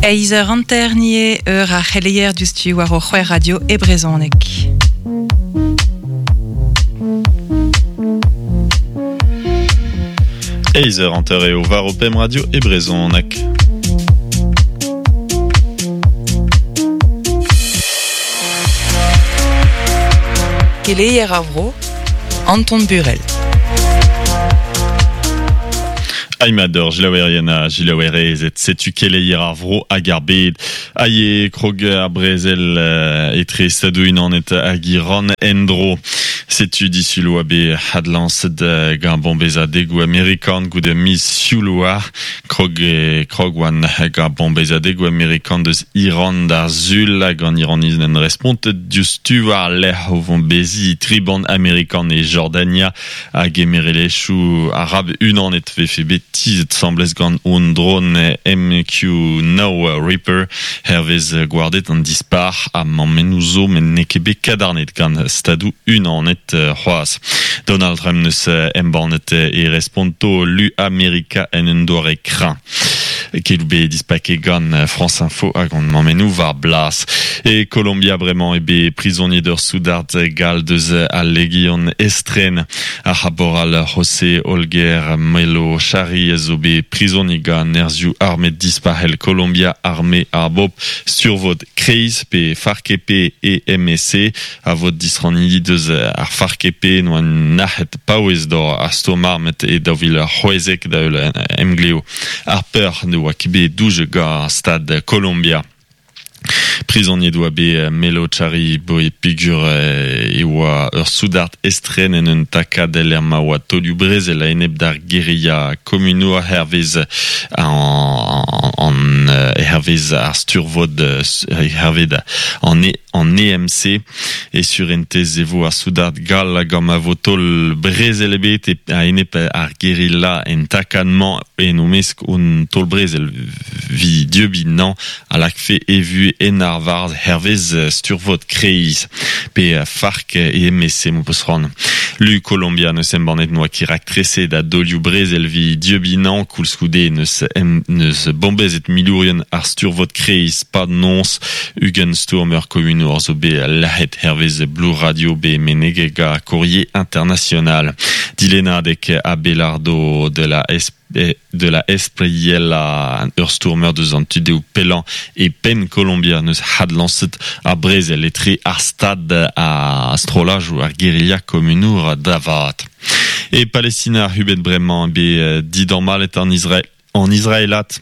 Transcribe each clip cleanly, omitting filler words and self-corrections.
Eizh eur hanter nie eur ar c'heleier diouzhtu war o c'hwec'h radio e brezhoneg. Eizh eur hanter eo war ho pemp radio e brezhoneg. Keleier ar vro, Anton Burel. Aimador, jilaouerien ha jilaouerezed, setu keleier ar vro hag ar bed. Aie krog ar brezel etre Stadoù-Unanet hag Iran en-dro. Setu disul oa bet adlañset gant bombezadegoù amerikan goude miz Sioul oa. Krog krog oan gant bombezadegoù amerikan deus Iran d'ar Sul hag an Iraniz n'en respontet diouzhtu war-lerc'h o vombeziñ tri bann amerikan e Jordania hag emerelezhioù arab unanet vefe bet tizhet 'sambles gant un drone MQ-9 Reaper hervez gwarded an dispac'h ha mammennoù zo met n'eo ket bet kadarnet gant Stadoù Unanet c'hoazh. Donald Trump 'neus embannet e responto lu Amerika en un doare kreñv. Keloù bet dispaket gant France Info hag hon mammennoù war blas. E Kolombia bremañ eo bet prizoniet ur soudard gall deus al Legion estren. Ar c'haporal José Olger Melo Chari a zo bet prizoniet gant nerzhioù armet dispac'hel Kolombia Arme ar Bobl Sturvod Kreiz pe FARC-EP EMSC a vod disrannidi deus ar FARC-EP n'oa nac'het paouez d'or ar stourm armet e 2016 da heul emglev ar peur ne oa ket bet doujet gant stad Kolombia. Prizoniet oa bet Melo Chari boe peogwir e oa ur soudard estren en un takad lec'h ma oa taolioù brezel a-enep d'ar guerilla komunour hervez an hervez ar sturvod hervez an an EMC. E surentez e vo ar soudard gall hag ma vo taol brezel ebet a-enep ar guerilla en takad-mañ en o mesk un taol brezel vi dieubiñ nañ a lakfe e vuhez en arvar hervez sturvod kreiz pe FARC EMC m'ho peus c'hoant. Lu Kolombia n'eus embannet n'oa ket raktreset a daolioù brezel vi dieubiñ nañ koulskoude n'eus n'eus bombezet milourien ar sturvod kreiz pad noz 20 stourmer komunour zo bet lazhet hervez Blue Radio bet meneget gant Courrier International. Dilennadeg Abelardo de la de la Espriella ur stourmer deus an tu-dehoù pellañ e penn Kolombia n'eus adlañset ar brezel etre ar stad ha strollajoù ar guerilla komunour da vat. E Palestina ac'hubet bremañ bet didammallet an Israel an Israelat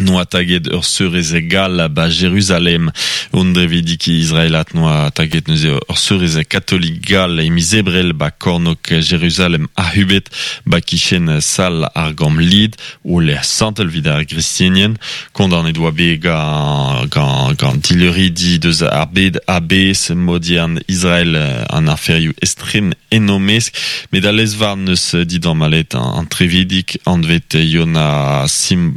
N'oa taget ur seurez gall ba Jeruzalem. Un drevidik israelat n'oa taget neuze ur seurez katolik gall e miz Ebrel ba kornôg Jeruzalem ac'hubet ba kichen sal ar gambr-lid o lec'h santel evit ar gristenien. Kondaonet oa bet gant, gant, gant dileuridi deus ar bed a-bezh modiern Israel an aferioù estren en o mesk. Met al lez-varn n'eus didamallet an trevidig anvet Yona Sim,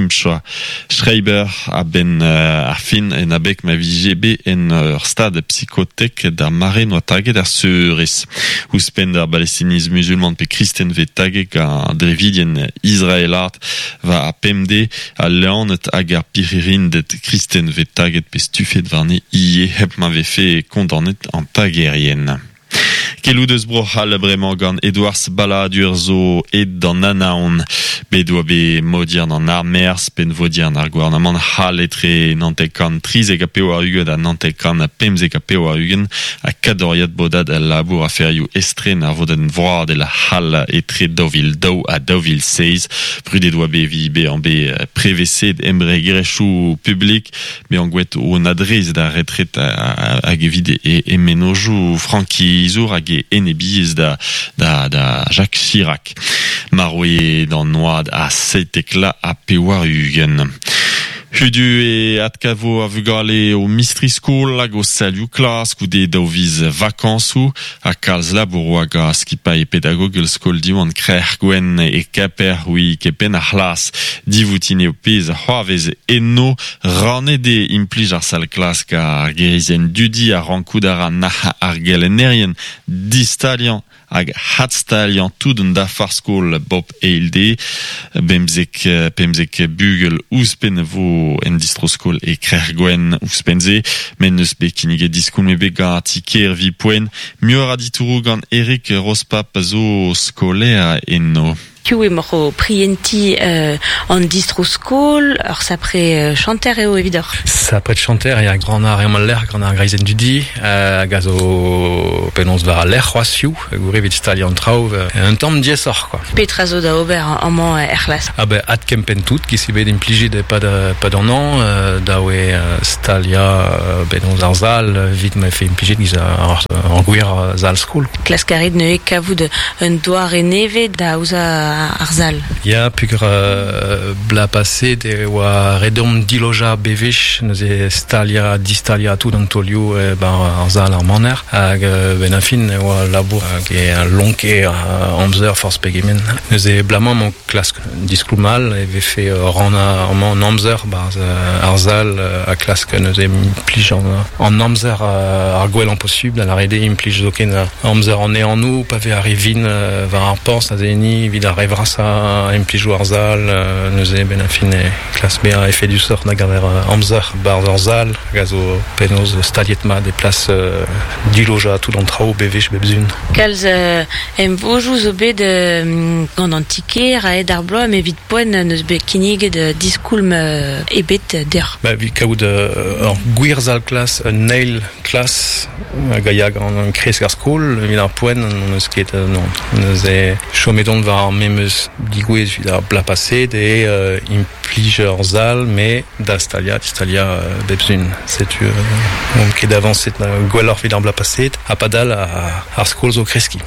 Simcha Schreiber a-benn ar fin en abeg ma vije bet en ur stad psikotek d'ar mare n'oa taget ar seurez. Ouzhpenn d'ar Balestiniz muzulman pe kristen vez taget gant drevidien israelat war ar pemdez, al leaned hag ar pirc'hirinded kristen vez taget pe stufet warne ivez hep ma vefe kondaonet an tagerien. Keloù deus Bro-C'hall bremañ gant Edouard Balladur zo aet d'an Anaon. Bet oa bet modiern an armerzh, pennvodiern ar gouarnamant c'hall etre 1993 ha 1995 ha kadoriad bodad al labour aferioù estren ar vodenn vroadel c'hall etre 2002 ha 2007. Brudet oa bet evit bezañ bet preveset embregerezhioù publik Bezañ gwelet o adreizh d'ar retred hag evit e mennozhioù frankizour hag e enebiezh da, da, da Jacques Chirac. Marv eo d'an oad a 97 ha 80. Hudu e adkavo ar vugale o mistri-skol hag o salioù klas goude daou viz vakañsoù ha kalz labour oa gant skipailh pedagogel skol Diwan Krec'h Gwenn e Kemper oui kepenn ar c'hlas. Divoutin eo pezh a c'hoarvez eno. Rannet eo implij ar sal-klask ar gerizenn dudi a rankout a ra nac'h ar gelennerien distaliañ hag adstaliañ tout an dafar skol bop eil dez. Bemzek, pemzek bugel ouzhpenn vo vo en distro-skol e Krec'h-Gwenn ouzhpenn-se, met n'eus bet kinniget diskoulm ebet gant ar ti-kêr evit poent. Muioc'h a ditouroù gant Eric Rospap zo skolaer eno. Piv emaoc'h o prientiñ an distro-skol? Ur sapre chanter eo evidoc'h. Sapre chanter ya, gant ar emañ al lec'h, gant ar greizenn dudi, hag a zo penaos war al lec'h c'hoazh hiziv, goude evit staliañ an traoù, un tamm diaesoc'h quoi. Petra zo da ober amañ er c'hlas? Ah ben adkempenn tout, giz eo bet implijet e-pad e-pad an hañv, dav eo staliañ penaos ar sal evit ma vefe implijet giz ar gwir sal-skol. Klask a rit neuze kavout un doare nevez da aozañ ar sal. Ya, peogwir bloaz paset e oa ret deomp dilojañ bewech, neuze staliañ, distaliañ tout an taolioù e-barzh ar sal ar maner. Hag benn ar fin e oa labour hag e lonke amzer forzh pegement. Neuze bloaz-mañ emañ klask diskoulm all e vefe rannañ amañ an amzer 'barzh ar sal ha klask neuze implij an amzer ar gwellañ posubl, da lâret eo implij zoken amzer an ehanoù pa vez ar re vin war ar porzh aze enni evit ar re vrasañ implijoù ar sal neuze benn ar fin e klask bezañ efedusoc'h da gaver amzer 'barzh ur sal hag a zo penaos staliet mat e plas dilojañ tout an traoù bewech bep sizhun. Kalz emvojoù zo bet gant an ti-kêr a-hed ar bloaz met evit poent n'eus bet kinniget diskoulm ebet deoc'h. Ba, evit kaout ur gwir sal-klas, un eil klas hag a ya gant kresk ar skol, evit ar poent n'hon eus ket non. Neuze chomet on war ar memes digouezh evit ar bloaz paset eo implij ur sal met da staliañ, distaliañ bep sizhun. Setu n'omp ket avañset gwelloc'h evit ar bloaz paset ha padal ar skol zo kreskiñ.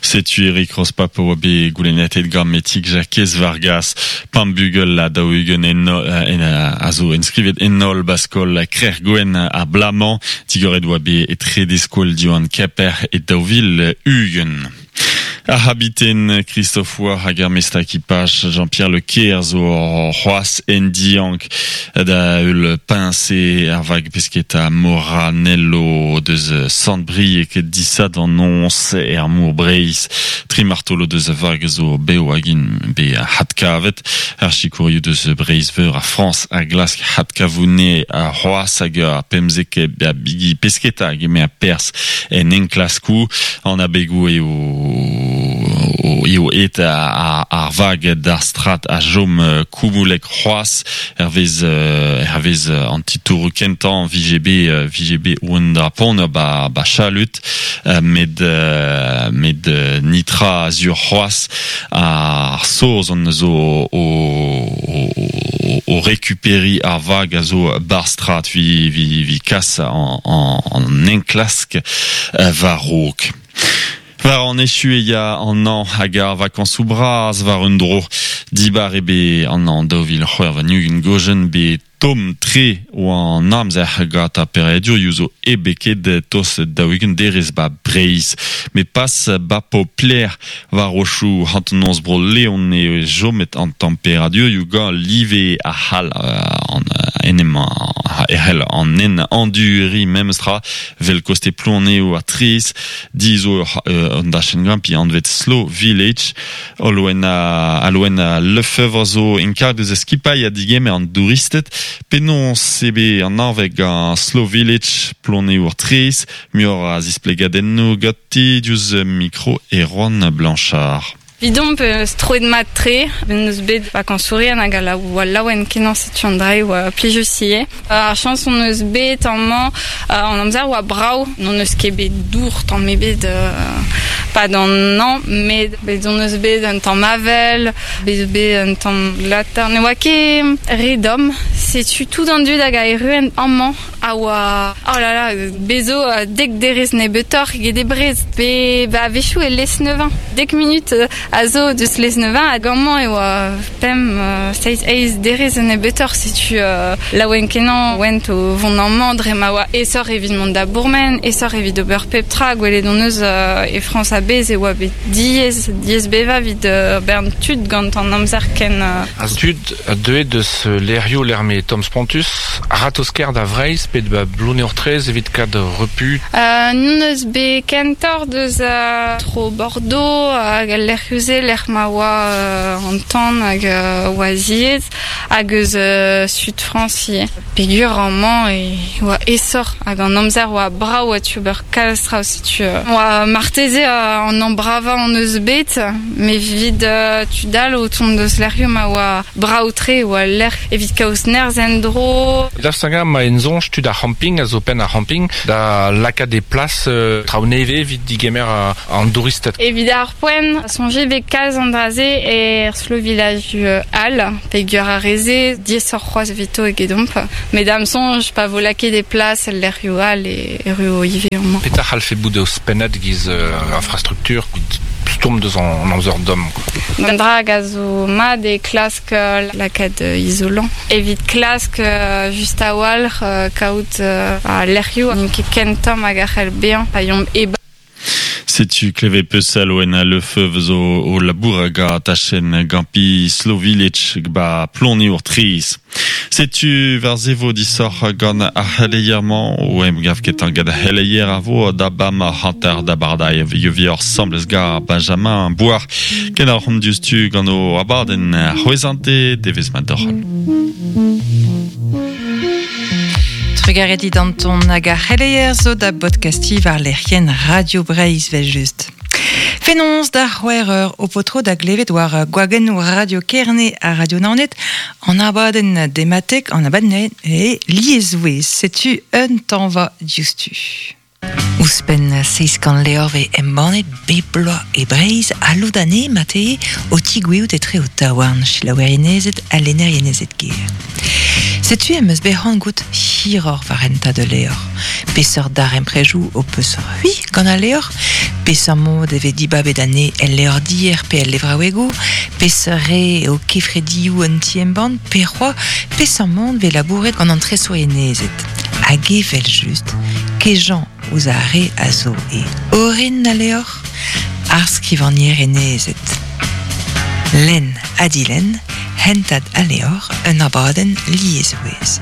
Setu Eric Rospap a oa bet goulennatet gant Metig Jakez Vargas. Pemp bugel ha 40 en, a zo enskrivet en holl ba skol Krec'h-Gwenn ar bloaz-mañ. Digoret oa bet e trede skol Diwan Kemper e 2020. Ar c'habiten Christophe War hag ar mestr ekipaj Jean-Pierre Le Ker zo c'hoazh en diank da heul peñse ar vag pesketa Moranello deus Sant-Brieg disadorn noz er Mor Breizh. Tri martolod deus a vag zo bev hag int bet hadkavet. Ar sikourioù deus Breizh-Veur ha Frañs a glask hadkavout c'hoazh hag ar 15 a bigi pesketa a gemer perzh en enklaskoù. An abegoù eo eo aet ar vag d'ar strad a chom koumoulek c'hoazh hervez hervez an titouroù kentañ vije bet vije bet oan pont ba ba chalut met met nitra sur c'hoazh ar Saozon zo o o rekuperiñ ar vag a zo ba'r strad vi vi vi kas an an enklask war-raok. War an echu e ya an hañv hag ar vakañsoù bras war un dro. Dibar eo bet an hañv 2026 gojenn bet tomm-tre oa an amzer gant ar peredurioù zo eo bet ket tost 40 derez 'ba Breizh. Met pas 'ba Poplec'h war rochoù hanternoz Bro-Leon eo chomet an temperadurioù gant live a c'hall an en em e c'hell an nen anduriñ memestra 'vel koste Plouneour ha Trez. Di zo un dachenn grimpiñ anvet Slow Village. Olwen Alwen Lefebvre zo enkarg deus skipailh ha digemer an douristed. Penaos eo bet an arveg gant Slow Village Plouneour Trez? Muioc'h a zisplegadennoù ganti diouzh mikro Erwan Blanchard. Evidomp eus troet mat-tre, n'eus bet vakañsourien hag a oa laouen-kenañ setu an dra e oa plijus ivez. Ar chañs hon eus bet amañ, an amzer oa brav, n'hon eus ket bet dour tamm ebet 'pad an hañv, met bet hon eus bet un tamm avel, bet bet un tamm glatar, ne oa ket re domm. Setu tout an dud hag a erruent amañ a oa oh là là bez zo dek derez nebeutoc'h eget e Brest pe ba a-wechoù e Lesneven dek munut a zo deus Lesneven hag amañ e oa pemp seizh eizh derez nebeutoc'h setu laouen-kenañ oent o vont amañ dre ma oa aesoc'h evit mont da bourmen aesoc'h evit ober pep tra gwelet hon eus e Frañs a-bezh e oa bet diaes diaes bevañ evit bern tud gant an amzer ken An tud a deue deus lec'hioù lec'h m'eo tomm spontus, a-ratozh-kaer da Vreizh pe da Bloneour-Traezh evit kad repu. N'hon eus bet kentoc'h deus tro Bordeaux hag al lec'hioù-se lec'h ma oa an tan hag oa ziaes hag eus sud Frañs ivez. Peogwir amañ e oa aesoc'h hag an amzer oa brav oa tu ober kalz traoù setu oa marteze an ambravañ hon eus bet met evit tud all o tont deus lec'hioù ma oa Brav-tre e oa al lec'h evit kaout nerzh en-dro. Daoust hag-eñ ma en soñj tud ar c'hamping a zo penn ar c'hamping da lakaat e plas traoù nevez evit digemer an douristed? Evit ar poent, soñjet 'vez kalz an dra-se er slow village all, peogwir ar re-se diaesoc'h c'hoazh evito egedomp. Met da'm soñj, pa vo lakaet e plas el lec'hioù all e erruo ivez amañ. Petra c'hallfe bout ouzhpennet e-giz infrastruktur stourm deus an amzer domm? Un dra hag a zo mat eo klask lakaat izolañ. Evit klask just a-walc'h kaout lec'hioù n'int ket ken tomm hag a c'hell bezañ pa yomp e-barzh. Setu klevet peusal oen Le Feuve zo o labourat ga tachenn gampi Slow Village ba Ploniour-Traezh. Setu war se vo disoc'h gant ar c'heleier-mañ o emgav ketañ gant ar c'heleier a vo da bam hanter da bardailh vioc'h 'sambles ga Benjamin Bouard. Kenalc'homp diouzhtu gant o abadenn c'hwezhante devezh mat deoc'h. Trugarez dit Anton hag ar c'heleier zo da bodkastiñ war lec'hienn Radio Breizh 'vel-just. Fenoz da c'hwec'h eur ho po tro da glevet war gwagennoù Radio Kerne ha Radio Naoned an abadenn dematek, an abadenn e liesvouezh. Setu un tañva diouzhtu. Ouzhpenn 700 levr vez embannet bep bloaz e Breizh ha lod anezhe marteze o tigouezhout etre ho taouarn, selaouerienezed ha lennerienezed ger. Setu em eus bet c'hoant goût hiroc'h war hentad ul levr. Peseurt darempredoù ho peus c'hwi gant al levr? Peseurt mod e vez dibabet anezhe el levrdier pe el levraouegoù? Peseurt re eo kefredioù un ti-embann? Pe c'hoazh peseurt mod 'vez labouret gant an tresourienezed? Hag evel-just, kejañ ouzh ar re a zo e orin al levr, ar skrivagnerenezed. Lenn ha dilenn, hentad al levr, un abadenn liesvouezh.